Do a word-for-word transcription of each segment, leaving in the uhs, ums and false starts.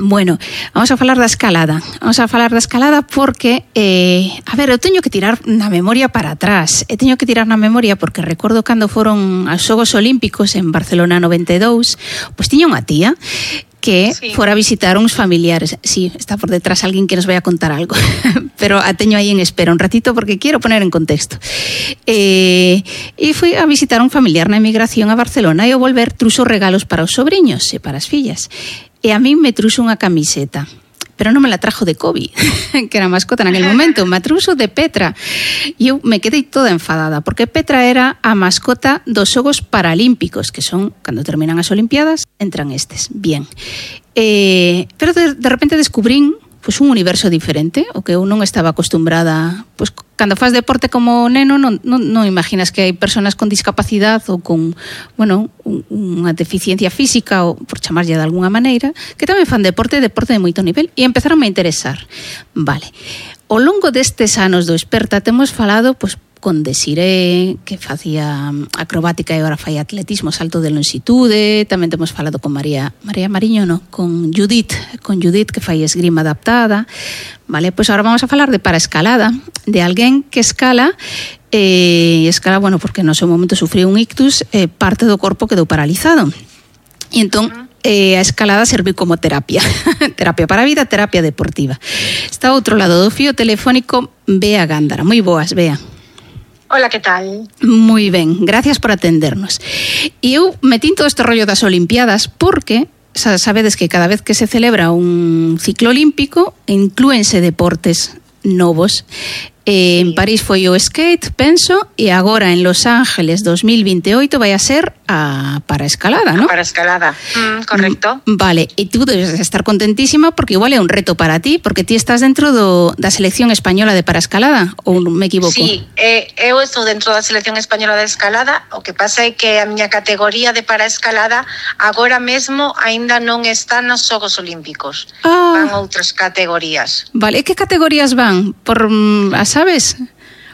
Bueno, vamos a falar da escalada. Vamos a falar da escalada porque, eh, a ver, eu teño que tirar na memoria para atrás. Eu teño que tirar na memoria porque recordo cando foron aos Xogos Olímpicos en Barcelona noventa e dous, pois tiña unha tía que sí. fora a visitar uns familiares. Sí, está por detrás alguén que nos vai a contar algo, pero a teño aí en espera un ratito porque quero poner en contexto. Eh, e fui a visitar un familiar na emigración a Barcelona e ao volver truxo regalos para os sobriños e para as fillas. E a mí me truxo unha camiseta, pero non me la trajo de Kobe, que era mascota naquele momento, me truxo de Petra. E eu me quedei toda enfadada, porque Petra era a mascota dos Xogos Paralímpicos, que son, cando terminan as Olimpiadas, entran estes. Bien. Eh, pero de, de repente descubrín pues, un universo diferente, o que eu non estaba acostumbrada. Pues, cando faz deporte como neno, non, non, non imaginas que hai personas con discapacidade ou con, bueno, un, unha deficiencia física, ou por chamarlle de alguna maneira, que tamén fan deporte, deporte de moito nivel, e empezaron a interesar. Vale. Ao longo destes anos do Experta temos falado, pues, con Desiré, que facía acrobática e agora fai atletismo, salto de longitude. Tamén temos falado con María María Mariño, no, con Judith, con Judith que fai esgrima adaptada. Vale, pois pues ahora vamos a falar de paraescalada, de alguén que escala eh, escala, bueno, porque no seu momento sufriu un ictus, eh, parte do corpo quedou paralizado. E entón eh, a escalada serviu como terapia. Terapia para a vida, terapia deportiva. Está ao outro lado do fío telefónico Bea Gándara. Moi boas, Bea. Hola, que tal? Moi ben, gracias por atendernos. E eu metín todo este rollo das Olimpiadas porque sabedes que cada vez que se celebra un ciclo olímpico inclúense deportes novos. Eh, en París foi o skate, penso, e agora en Los Ángeles dos mil vinte e oito vai a ser a paraescalada, ¿no? A paraescalada, mm, correcto. Vale, e tú debes estar contentísima porque igual é un reto para ti, porque ti estás dentro do, da selección española de paraescalada, ou me equivoco? Sí, eh, eu estou dentro da selección española de escalada, o que pasa é que a miña categoría de paraescalada agora mesmo aínda non está nos Xogos Olímpicos. Ah. Van outras categorías. Vale, e que categorías van? Por as sabes?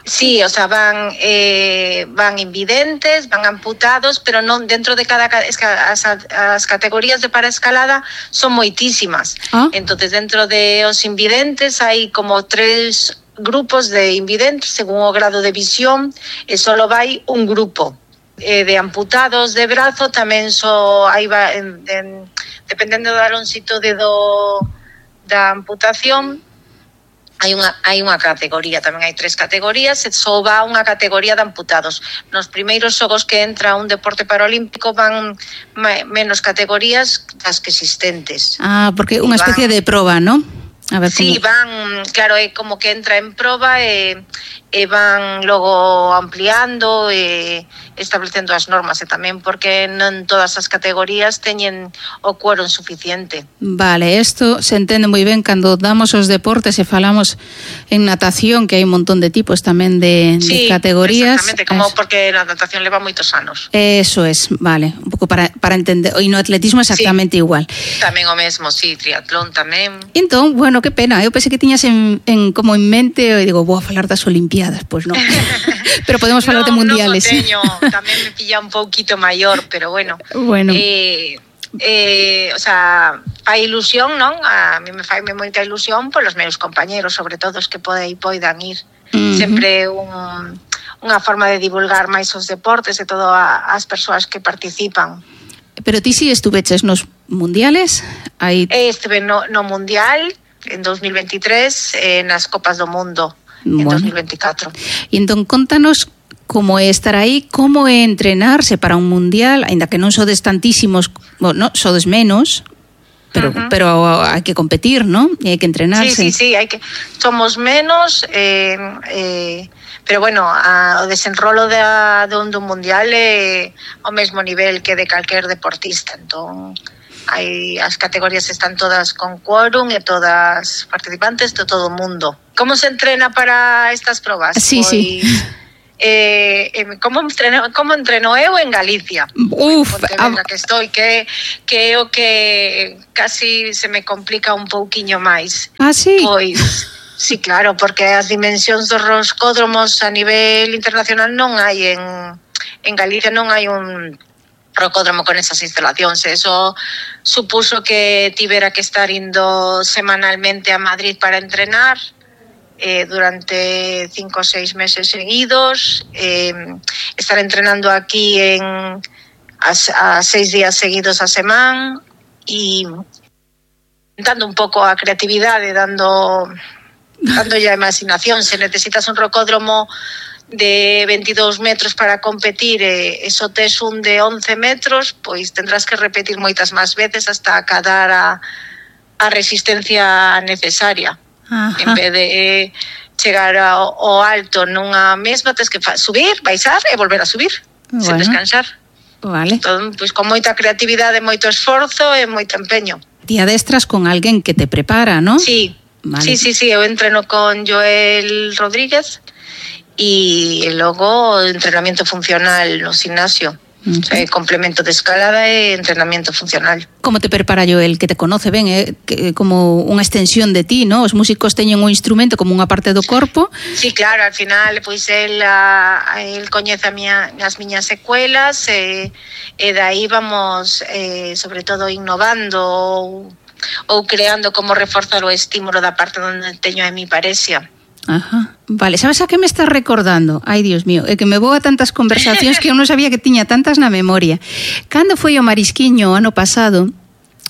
Sí, o sea, van eh, van invidentes, van amputados, pero non dentro de cada es que as, as categorías de paraescalada son moitísimas. Ah. Entonces, dentro de os invidentes hai como tres grupos de invidentes según o grado de visión, e solo vai un grupo. Eh, de amputados de brazo tamén so aí va en, en, dependendo da longitude do da amputación. Hai unha, hai unha categoría, tamén hai tres categorías, e só va unha categoría de amputados. Nos primeiros xogos que entra un deporte paralímpico van menos categorías das que existentes. Ah, porque unha especie van, de proba, ¿no? A ver, sí, como... van, claro, é como que entra en proba e, e van logo ampliando e establecendo as normas, e tamén porque non todas as categorías teñen o quórum suficiente. Vale, isto se entende moi ben cando damos os deportes e falamos en natación, que hai un montón de tipos tamén de, sí, de categorías. Exactamente, como es... porque a natación leva moitos anos. Eso es, vale, un pouco para, para entender. E no atletismo exactamente sí, igual. Tamén o mesmo, sí, triatlón tamén. Entón, bueno, que pena, eu pensei que tiñas en, en como en mente, e digo, vou a falar das Olimpiadas, pois pues non. Pero podemos falar no, de mundiales. Non o teño, tamén me pilla un pouquito maior, pero bueno. Bueno. Eh, eh, o sea, fai ilusión, non? A mí me fai moita ilusión polos meus compañeros, sobre todo os que pode, poidan ir. Uh-huh. Sempre un, unha forma de divulgar máis os deportes e todo a, as persoas que participan. Pero ti si estuveches nos mundiales? Hai... Estive no, no mundial en dos mil veintitrés, eh, nas Copas do Mundo en bueno. dos mil veinticuatro. E entón, contanos como é estar aí, como é entrenarse para un mundial, aínda que non sodes tantísimos, bueno, sodes menos, pero uh-huh. pero hai que competir, ¿no? E hai que entrenarse. Sí, sí, sí, hai que somos menos, eh, eh, pero bueno, a, o desenrolo de, de un, de un mundial é ao mesmo nivel que de calquer deportista, entón hai, as categorías están todas con quórum e todas participantes de todo o mundo. Como se entrena para estas probas? Sí, pois, sí. Eh, eh, como entreno, como entreno eu en Galicia. Uf, a... que estou, que que é o que casi se me complica un pouquiño máis. Ah, sí? Pois, sí, claro, porque as dimensións dos roscódromos a nivel internacional non hai en en Galicia, non hai un rocódromo con esas instalacións. Eso supuso que tivera que estar indo semanalmente a Madrid para entrenar eh, durante cinco ou seis meses seguidos, eh, estar entrenando aquí en a, a seis días seguidos a semana e dando un pouco a creatividade, dando dando ya imaginación. Se necesitas un rocódromo de veintidós metros para competir e eso tes un de once metros, pois tendrás que repetir moitas máis veces hasta acadar a, a resistencia necesaria. Ajá. En vez de eh, chegar ao, ao alto nunha mesma, tens que fa- subir, baixar e volver a subir, bueno, sen descansar. Vale. Entón, pois con moita creatividade, moito esforzo e moito empeño. Ti adestras con alguén que te prepara, ¿no? Sí, vale. sí, sí, sí, eu entreno con Joel Rodríguez e logo entrenamiento funcional no gimnasio. Uh-huh. O sea, complemento de escalada e entrenamiento funcional. Como te prepara Joel, que te conoce ben, eh? Que, como unha extensión de ti, ¿no? Os músicos teñen un instrumento como unha parte do corpo. Sí, claro, al final, pois el, a, el coñece a miña, as miñas secuelas e, e dai vamos, eh, sobre todo, innovando ou, ou creando como reforzar o estímulo da parte onde teño a mi parexia. Ajá. Vale, sabes a que me estás recordando? Ai, Dios mío, é que me vou a tantas conversacións que eu non sabía que tiña tantas na memoria. Cando foi o Marisquiño ano pasado,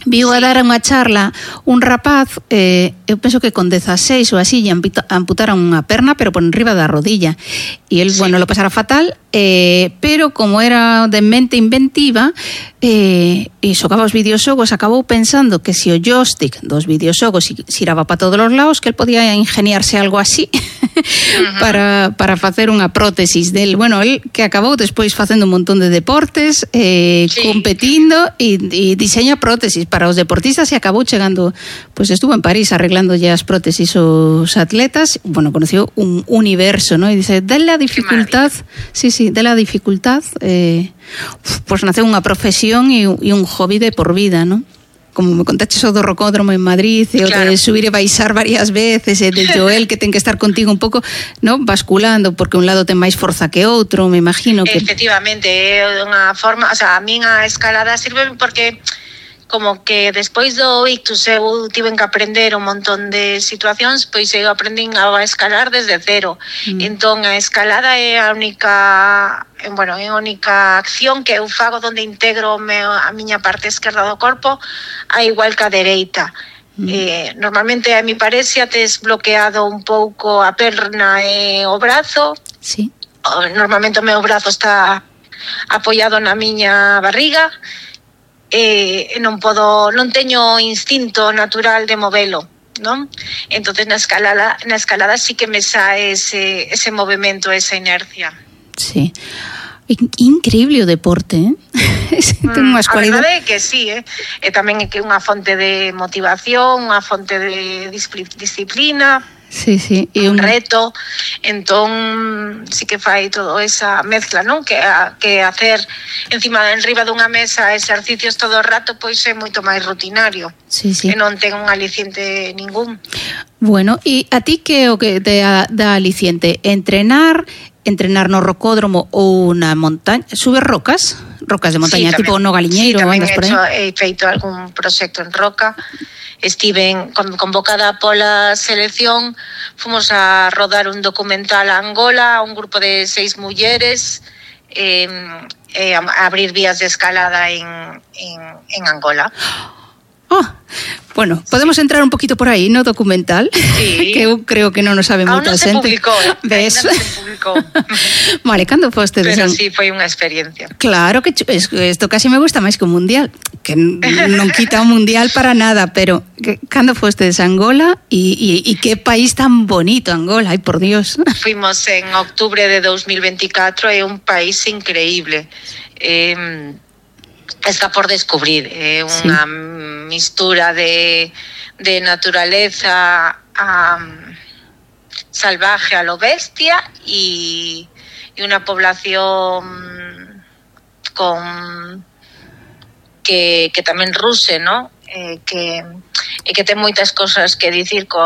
viu a dar unha charla un rapaz, eh, eu penso que con dezaseis ou así, lle amputaron unha perna, pero por enriba da rodilla. E el, sí. bueno, lo pasara fatal, eh, pero como era de mente inventiva, eh, e xogaba os videoxogos, acabou pensando que se o joystick dos videoxogos xiraba para todos os lados, que el podía ingeniarse algo así uh-huh. para, para facer unha prótesis del. Bueno, el que acabou despois facendo un montón de deportes, eh, sí. competindo e, e diseña prótesis para os deportistas e acabou chegando, pois estuvo en París arreglando ya as prótesis os atletas. Bueno, conoció un universo, ¿no? E dice, de la dificultad, sí, sí, de la dificultad, eh, pues nace unha profesión e, e un hobby de por vida, ¿no? Como me contaches o do rocódromo en Madrid, e o claro. de subir e baixar varias veces, e de Joel que ten que estar contigo un pouco, no, basculando, porque un lado ten máis forza que outro, me imagino que... Efectivamente, é unha forma, o sea, a min a escalada sirve porque como que despois do ictus eu tiven que aprender un montón de situacións, pois eu aprendín a escalar desde cero. Mm. Entón a escalada é a única, bueno, é a única acción que eu fago onde integro a miña parte esquerda do corpo a igual que a dereita. Mm. Eh, normalmente a mi parexia tes bloqueado un pouco a perna e o brazo. Sí. Normalmente o meu brazo está apoiado na miña barriga. Eh, non podo, non teño instinto natural de movelo, non? Entonces na escalada, na escalada sí que me sae ese, ese movimento, esa inercia. Sí. Increíble o deporte, eh? Ten unhas cualidades. A verdade é que sí, eh? E tamén é que unha fonte de motivación, unha fonte de disciplina. Sí, sí, e un, un reto, entón sí que fai todo esa mezcla, non? Que a, que hacer encima enriba dunha mesa exercicios todo o rato pois é moito máis rutinario. Sí, sí. Que non ten un aliciente ningún. Bueno, e a ti que o que te dá aliciente? Entrenar, entrenar no rocódromo ou na montaña, subes rocas? Rocas de montaña, sí, tipo no Galiñeiro, sí, andas por aí? He feito algún proxecto en roca. Estive convocada pola selección, fomos a rodar un documental a Angola, un grupo de seis mulleres, eh, eh, a abrir vías de escalada en, en, en Angola. Oh, bueno, podemos sí. entrar un poquito por aí no documental, sí. que eu creo que non o sabe moita xente. Aún non se publicou, ¿ves? non se publicou. Vale, cando foste? Pero sí, foi unha experiencia. Claro, que isto casi me gusta máis que un mundial, que non quita un mundial para nada, pero que, cando foste de Angola e, e, e que país tan bonito Angola, ai por Dios. Fuimos en octubre de dos mil veinticuatro, é un país increíble. Eh, está por descubrir, é eh, unha sí. mistura de, de naturaleza um, salvaje a lo bestia y, y una población con que, que tamén ruse, ¿no? Eh, que, e que ten moitas cosas que dicir con